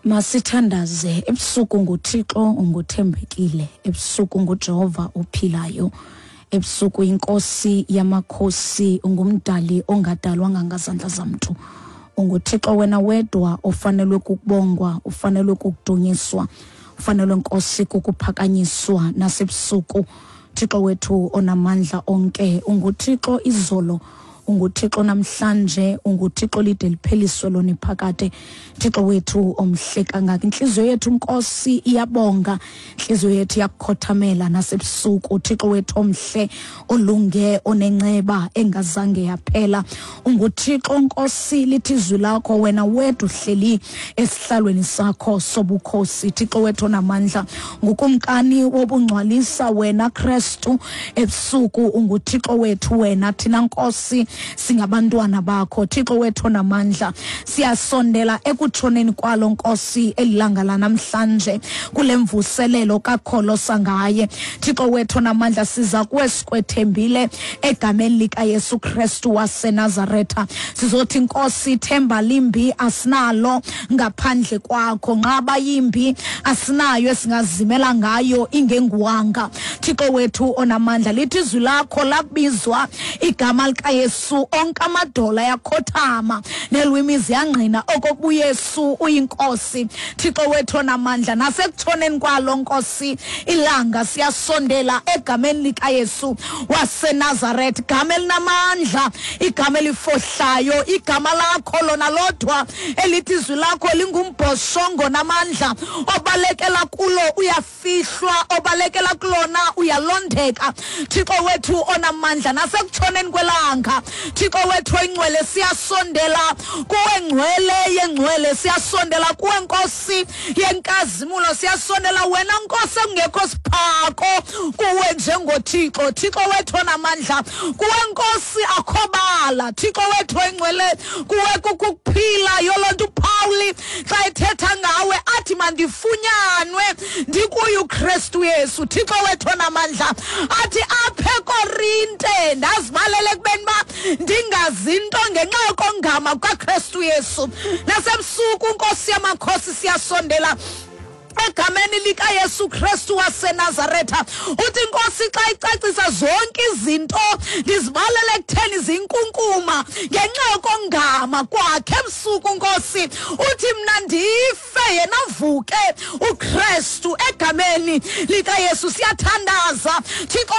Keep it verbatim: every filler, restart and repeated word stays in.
Masithandaze. Ebusuku nguThixo unguthembekile, ebusuku nguJehova ophilayo, ebusuku inkosi yamakhosi, ungumdali ongadalwanga ngazandla zamntu. UnguThixo wena wedwa ofanelwe kukubongwa, ufanelwe kukudunyiswa, ufanelwe Nkosi kukuphakanyiswa nasebusuku. Thixo wethu onamandla onke, unguThixo izolo, unguThixo namhlanje, unguThixo lide lipheliswe lona iphakade. Thixo wethu omhle kangaka, intliziyo yethu Nkosi iyabonga, intliziyo yethu iyakukhothamela nasebusuku. Thixo wethu omhle, olunge, onenceba engazange yaphela, unguThixo Nkosi, lithi izwi lakho wena wedwa uhleli esihlalweni sakho sobukhosi. Thixo wethu onamandla, ngukumkani wobungcwalisa wena Kristu. Ebusuku unguThixo wethu wena, thina Nkosi singabantwana bakho. Thixo wethu onamandla, siyasondela ekutshoneni kwalo Nkosi elilanga lanamhlanje kule mvuselelo kakholosa ngaye. Thixo wethu onamandla, siza kuwe sikwethembile egameni likaYesu Kristu waseNazaretha. Sizothi Nkosi, ithemba limbi asinalo ngaphandle kwakho, nqaba yimbi asinayo esingazimela ngayo ingenguwanga. Thixo wethu onamandla, lithi izwi lakho lakubizwa igama likaYesu onke amadola ayakhothama nelwimi ziyangqina okokuba uYesu uyinkosi. Thixo wethu onamandla, nasekutshoneni kwalo Nkosi ilanga siyasondela egameni likaYesu waseNazaretha, igama elinamandla, igama elifohlayo, igama lakho lona lodwa elithi izwi lakho lingumbhoshongo namandla, obalekela kulo uyafihlwa, obalekela kulona uyalondeka. Thixo wethu onamandla, nasekutshoneni kwelanga, Thixo wethu oyingcwele, siyasondela kuwe ngcwele yengcwele, siyasondela kuwe Nkosi yenkazimulo, siyasondela wena Nkosi ekungekho siphako kuwe njengoThixo. Thixo wethu onamandla, kuwe Nkosi akhobala. Thixo wethu oyingcwele, kuwe kukuphila. Yoloo nto uPawuli xa ethetha ngawe athi mandifunyanwe ndikuye uKristu Yesu. Thixo wethu onamandla, athi apha eKorinte ndazibalele ekubeni uba ndingazi nto ngenxa yokongama kukaKristu Yesu. Nasebusuku Nkosi yamakhosi siyasondela egameni likaYesu Kristu waseNazaretha. Uthi Nkosi xa icacisa zonke izinto ndizibalele ekutheni zinkunkuma ngenxa yokongama kwakhe. Ebusuku Nkosi uthi mna ndife yena avuke uKristu egameni likaYesu. Siyathandaza Thixo.